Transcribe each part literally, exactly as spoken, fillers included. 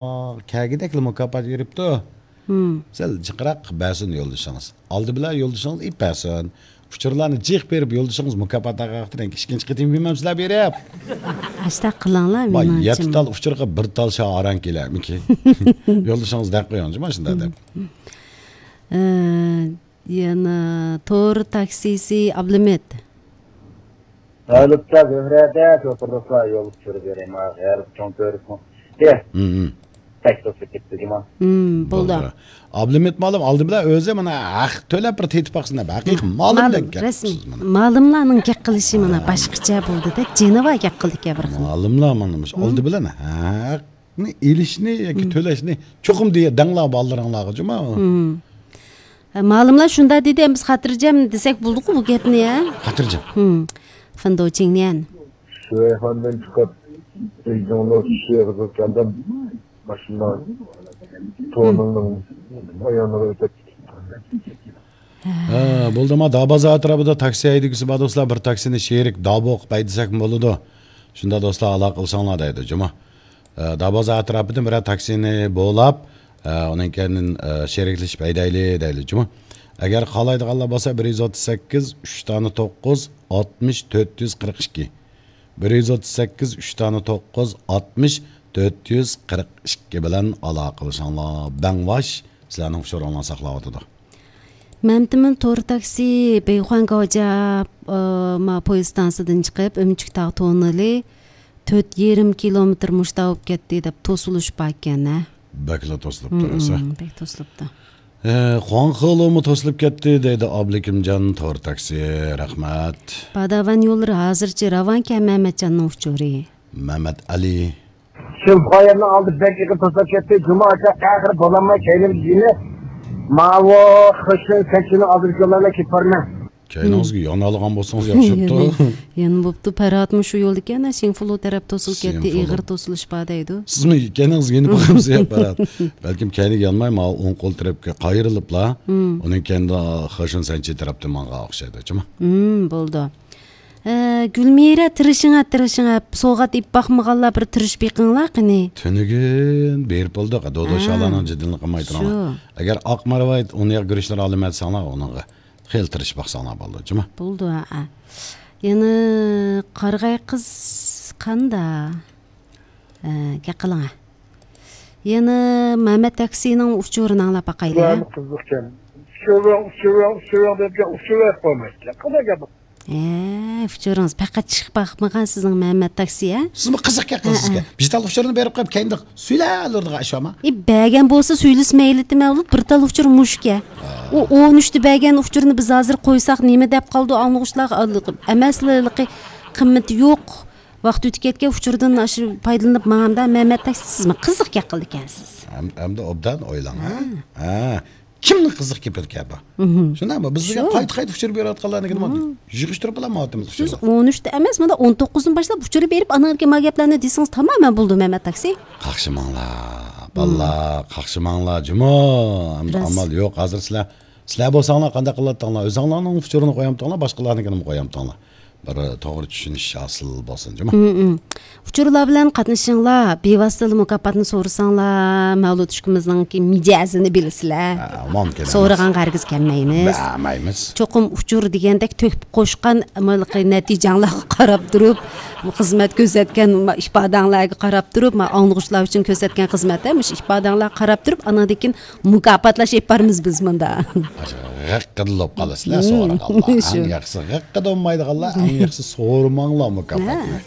كەلگۈدەكلا مۇكاپات بېرىپتۇ. سەل جىقراق بەرسۇن يولدىشىڭىز. ئالدى بىلەن يولدىشىڭىز ئېيتىپ بەرسۇن. ئۇچۇرلارنى جىق بېرىپ يولدىشىڭىز مۇكاپات ئاغاقتىن ئىككىنچى قېتىم يېمەمسىلەر بېرىپ. ئاشتاق قىلىڭلار، ما، مېنىڭچە. يەتتە تال ئۇچۇرغا بىر تال شا ئاران كېلەرمىكى؟ يولدىشىڭىز دەپ قويۇڭ، جۇما شۇنداق دەپ. ئە، يەنە تور تاكسىسى ئابلىمىت. ھالىپتا زۆھرەدە شوپۇرلۇقلار يول چۈشۈرۈپ بېرەي، ما غەرب چوڭ تۆرىسىنىڭ ئۈستى. ھىم، ھىم. تەكسىسى كېتىپتۇ جۇما. ھىم، بولدى. بولدى. ئابلىمىت مالىم ئالدى بىلەن ئۆزى مانا ھەق تۆلەپ بىر تېتىپ باقسۇن دەپ ھەقىقىي مالىمدەك رەسمىي. گەپسىز مانا. مالىملارنىڭ گەپ قىلىشى مانا ھە. باشقىچە بولدى-دە، جېنىۋا گەپ قىلدىكەن بىر خىل. مالىملار مانا مۇشۇ ھىم. ئالدى بىلەن ھەقنى ئېلىشنى ياكى ھىم. تۆلەشنى چوقۇم دېيە دەڭلار بالىلىرىڭلارغا جۇما. ھىم. ھە، مالىملار شۇنداق دېدى، ئەمدى بىز خاتىرجەم دېسەك بولدىغۇ بۇ گەپنى، ھە؟ خاتىرجەم. ھىم. فېندوچىڭنيەن. شۇەيخاندىن چىقىپ، بېيجىڭنىڭ شۇيەخىدە كەلدىم. ماشىنا تونىڭنىڭ بايانىغا ئۆتۈپ. ھە، بولدىما، دابازار ئەتراپىدا تاكسى ھەيدىگۈسى بار دوستلار، بىر تاكسىنى شېرىك دابو قىلىپ ھەيدىسەكمۇ بولىدۇ. شۇنداق دوستلار، ئالاقە قىلساڭلار دەيدۇ، جۇما. ئە، دابازار ئەتراپىدىن بىرەر تاكسىنى بولاپ، ئە، ئۇنىڭ كەينىدىن، ئە، شېرىكلىشىپ ھەيدەيلى دەيلى، جۇمۇ. ئەگەر قالايدىغانلار بولسا، بىر يۈز ئوتتۇز سەككىز، ئۈچ دانە توققۇز، ئاتمىش، تۆت يۈز قىرىق ئىككى. بىر يۈز ئوتتۇز سەككىز، ئۈچ دانە توققۇز، ئاتمىش، تۆت يۈز قىرىق ئىككى بىلەن ئالاقىلىشىڭلار. بەڭۋاش سىلەرنىڭ ئۇچۇرۇڭلارنى ساقلاۋاتىدۇ. مەمتىمىن تور تاكسى بېيخۇەن گاۋجيا، ئە، ما پويىز ئىستانسىدىن چىقىپ، ئۆمۈچۈك تاغ توننېلى تۆت يېرىم كىلومېتىر مۇشتا بولۇپ كەتتى دەپ توسۇلۇش باركەن، ھە؟ بەكلا توسۇلۇپتۇ، ھىم، راسا. ھىم، بەك توسۇلۇپتۇ. ئە، خۇاڭخېلۇمۇ توسۇلۇپ كەتتى دەيدۇ ئابلىكىمجان تور تاكسى. رەھمەت. باداۋان يوللىرى ھازىرچە راۋانكەن مەمەتجاننىڭ ئۇچۇرى. مەمەت ئەلى. شۇ قايەرنىڭ ئالدى بەك ئېغىر توسۇلۇپ كەتتى. جۇما ئاكا ئاخىرى بولالماي كەينىمگە يېنىپ، ماۋۇ خېشىن سەنچىنىڭ ئالدىدىكى يوللارنى كېلىپ بارىمەن. كەينىڭىزگە يانالىغان بولسىڭىز ياخشى بوپتۇ. يەنە، يەنە بوپتۇ. پەرھاتمۇ شۇ يولدىكەن، شىڭفۇلۇ تەرەپ توسۇلۇپ كەتتى، شىڭفۇلۇ. ئېغىر توسۇلۇش بار دەيدۇ. سىزمۇ كەينىڭىزگە يېنىپ بارامسىز يا پەرھات؟ بەلكىم كەينىگە يانماي، ماۋۇ ئوڭ قول تەرەپكە قايرىلىپلا، ھىم. ئۇنىڭ كەينىدە خېشىن سەنچى تەرەپتىن ماڭغان ئوخشايدۇ، جۇما. ھىم، بولدى. ئە، گۈلمىرە، تىرىشىڭە، تىرىشىڭە. سوۋغات ئېلىپ باقمىغانلار بىر تىرىشىپ بېقىڭلار قېنى. تۈنۈگۈن بېرىپ بولدۇق، دودو ھە. شالانىڭ جېدىلىنى قىلماي شۇ. تۇرۇڭلار. ئەگەر ئاق مارۋايىت ئۇنىياق گۈرۈچلىرى ئالىمەن دېسەڭلار، ئۇنىڭغا خېلى تىرىشىپ باقساڭلار بولىدۇ، جۇما. بولىدۇ، ھە. يەنە قارىغاي قىز قاندا؟ ئە، گەپ قىلىڭە. يەنە مەمەت تاكسىنىڭ ئۇچۇرىنى ئاڭلاپ باقايلى، ھە؟ قىزىقكەن. ئۇچۇرۇڭ، ئۇچۇرۇڭ، ئۇچۇرۇڭ دەپ گەپ، ئۇچۇر بەرىپ قويمايدىكەن. قانداق گەپ بۇ؟ ئە، ئۇچۇرىڭىز پەقەت چىقىپ باقمىغان سىزنىڭ مەمەت تاكسى، ھە؟ سىزمۇ قىزىق گەپ قىلىسىزكەن. ھە، ھە. بىر تال ئۇچۇرنى بېرىپ قويۇپ، كەينىدە سۈيلەۋېرىدىغان ئىش بارمۇ؟ ئى، بەرگەن بولسا سۈيلىسە مەيلىتى مەۋلۇت، بىر تال ئۇچۇر مۇشۇكە. ئۇ ئون ئۈچتە بەرگەن ئۇچۇرنى بىز ھازىر قويساق نېمە دەپ قالىدۇ ئاڭلىغۇچىلارغا؟ ئەمەسلا، قىممىتى يوق. ۋاقىت ئۆتۈپ كەتكەن ئۇچۇردىن ئاشۇ پايدىلىنىپ ماڭامدا مەمەت تاكسى سىزمۇ قىزىق گەپ قىلىدىكەنسىز. ھەم-، ھەمدە ئوبدان ئويلاڭ، ھە؟ ھە. ھە. كىمنىڭ قىزىق گېپىدىكەن بۇ؟ مھم. شۇنداقمۇ؟ بىز دېگەن شۇ. قايتا-قايتا ئۇچۇر بېرىۋاتقانلارنىڭكىنى مھم. يىغىشتۇرۇپ ئالالمايۋاتىمىز سىز ئۇچۇرنى. ئون ئۈچتە ئەمەس، مانا ئون توققۇزدىن باشلاپ ئۇچۇر بېرىپ، ئانىڭدىن كېيىن ما گەپلەرنى دېسىڭىز تامامەن بولىدۇ، مەمەت تاكسى. قاقشىماڭلار، مھم. بالىلار، قاقشىماڭلار، جۇمۇ. ئەمدى راست. ئامال يوق. ھازىر سىلەر، سىلەر بولساڭلار قانداق قىلاتتىڭلار؟ ئۆزۈڭلارنىڭ ئۇچۇرىنى قويامتىڭلار، باشقىلارنىڭكىنىمۇ قويامتىڭلار؟ بىر توغرا چۈشىنىش ھاسىل بولسۇن، جۇمۇ. مم، مم. ئۇچۇرلار بىلەن قاتنىشىڭلار، بىۋاسىتىلا مۇكاپاتنى سورىساڭلار، مەۋلۇت ئۈچكىمىزنىڭكى مىجەزىنى بىلىسىلەر. ھە، مۇمكىن ئەمەس. سورىغانغا ھەرگىز كەلمەيمىز. بەرمەيمىز. چوقۇم ئۇچۇر دېگەندەك تۆكۈپ قوشقان، مانا، نەتىجەڭلارغا قاراپ تۇرۇپ، خىزمەت كۆرسەتكەن، ما، ئىپادەڭلارگە قاراپ تۇرۇپ، ما، ئاڭلىغۇچىلار ئۈچۈن كۆرسەتكەن خىزمەت، ھە، مۇشۇ ئىپادەڭلارغا قاراپ تۇرۇپ، ئانىڭدىن كېيىن مۇكاپاتلاش ئېلىپ بارىمىز بىز مۇندا. غەققىدە بولۇپ قالىسىلەر، مم. سورىغانلار. شۇ. ئەڭ ياخشىسى غەققىدە بولمايدىغانلار، ئەڭ ياخشىسى سورىماڭلار مۇكاپاتنى. ھە.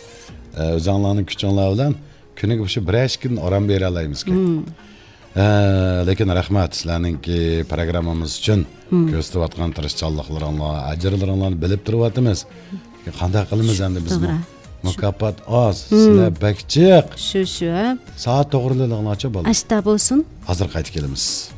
ئە، ئۆزۈڭلارنىڭ كۈچۈڭلار بىلەن كۈنىگە مۇشۇ بىرەر ئىككىدىن ئارام بېرەلەيمىزكەن. مم. ئە، لېكىن رەھمەت سىلەرنىڭكى پروگراممىمىز ئۈچۈن مم. كۆرسىتىۋاتقان تىرىشچانلىقلىرىڭلار، ئەجىرلىرىڭلارنى بىلىپ تۇرۇۋاتىمىز. قانداق قىلىمىز ئەمدى بىزمۇ؟ توغرا. مۇكاپات ئاز، مم. سىلەر بەك جىق. شۇ، شۇ. سائەت توغرىلىغىنىچە بولدى. ئاشتا بولسۇن. ھازىر قايتىپ كېلىمىز.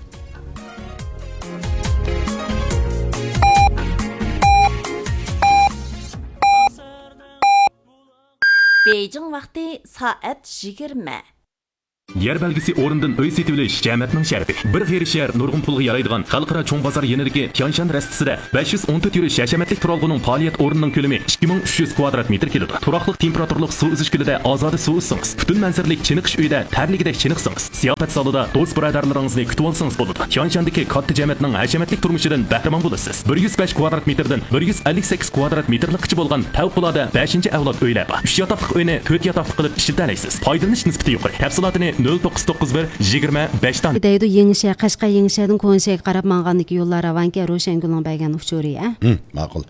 بېيجىڭ ۋاقتى سائەت يىگىرمە. يەر بەلگىسى ئورنىدىن ئۆي سېتىۋېلىش جەمەتنىڭ شەرىپى. بىر غېرىب شەھەر نۇرغۇن پۇلغا يارايدىغان خەلقئارا چوڭ بازار يېنىدىكى تيانشان رەستىسىدە بەش يۈز ئون تۆت يۈرۈش ھەشەمەتلىك تۇرالغۇنىڭ پائالىيەت ئورنىنىڭ كۆلىمى ئىككى مىڭ ئۈچ يۈز كۋادرات مېتىر كېلىدۇ. تۇراقلىق تېمپېراتۇرىلىق سۇ ئۈزۈش كۆلىدە ئازادە سۇ ئۈزسىڭىز، پۈتۈن مەنزىرىلىك چېنىقىش ئۆيىدە تەرلىگۈدەك چېنىقسىڭىز، زىياپەت زالىدا دوست بۇرادەرلىرىڭىزنى كۈتۈۋالسىڭىز بولىدۇ. تيانشاندىكى كاتتا جەمەتنىڭ ھەشەمەتلىك تۇرمۇشىدىن بەھرىمەن بولىسىز. بىر يۈز بەش كۋادرات مېتىردىن بىر يۈز ئەللىك سەككىز كۋادرات مېتىرلىققىچە بولغان پەۋقۇلئاددە بەشىنچى ئەۋلاد ئۆيلەر بار. ئۈچ ياتاقلىق ئۆينى تۆت ياتاقلىق قىلىپ ئىشلىتەلەيسىز. پايدىلىنىش نىسبىتى يۇقىرى. تەپسىلاتىنى نۆل توققۇز توققۇز بىر يىگىرمە بەش دان. دەيدۇ، يېڭىشەھەر، قەشقەر يېڭىشەھەردىن كونا شەھەرگە قاراپ ماڭغاندىكى يوللار راۋانكەن، روشەنگۈلنىڭ بەرگەن ئۇچۇرى، ھە؟ ھىم، ماقۇل.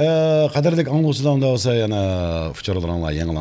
ئە، قەدىرلىك ئاڭلىغۇچىلار، ئۇندا بولسا يەنە ئۇچۇرلىرىڭلار، يېڭىلار